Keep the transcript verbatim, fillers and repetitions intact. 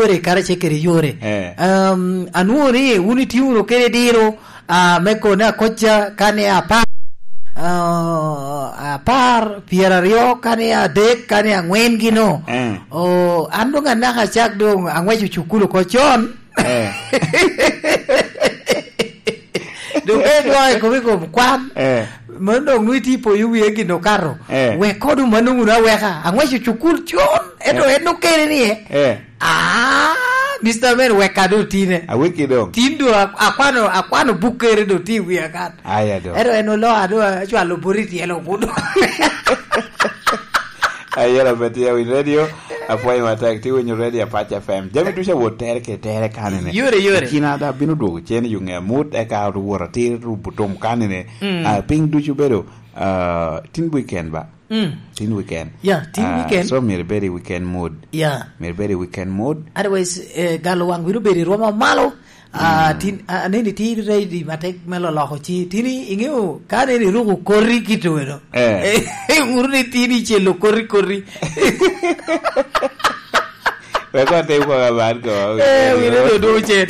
yore, kara ce kede yore. Eh. Um, anwoŋo ni wun itye wunu kede diro, ah, me kone akocca ka ni apar, ah, apar, pyeraryo, ka ni adek, ka ni aŋwen gino. Eh. Oh, an doŋ anaka acak doŋ aŋweco cukulu oko con. Eh. Doŋ ka idwoko i kom, i kom kwan, eh, mano doŋ nwoŋo itye poyo wie gin okato. Eh. Wek kodo mano wunu aweka. Aŋweco cukul con, ento, eh, en okene ni, eh. Eh. Ah, Mister Man, wek ka doŋ tine. Aweki doŋ. Tin doŋ ak-, akwano, akwano buk kere doŋ tye i wia kan. Aya doŋ. Ento en olo, ado acwalo bot i tyelo kuno. Ayela pe tye i radio, apwoyo matek, tye winyo radio Apac F M. Jami ducu awot tere ke tere kanene. Yore, yore. Kina da bino dwogo cen i yo nge amut, eka wot atir rubo tum kanene. Mm. Ah, piny ducu bedo, ah, tin weekend ba? Mm. Tin weekend. Yeah, tin, ah, weekend. So myero ibed i weekend mood. Yeah. Myero ibed i weekend mood. Otherwise, eh, galo wang bino bedo i rwoma malo. Ah, mm, tin, ah, aneni tye ready matek me loloko ci. Tini, iŋeo, ka aneni iruko koti kit weno. Eh. Eh, wuro ni tini icelo koti, koti. Wek otim kong aman ko. Eh, wine do, do cen.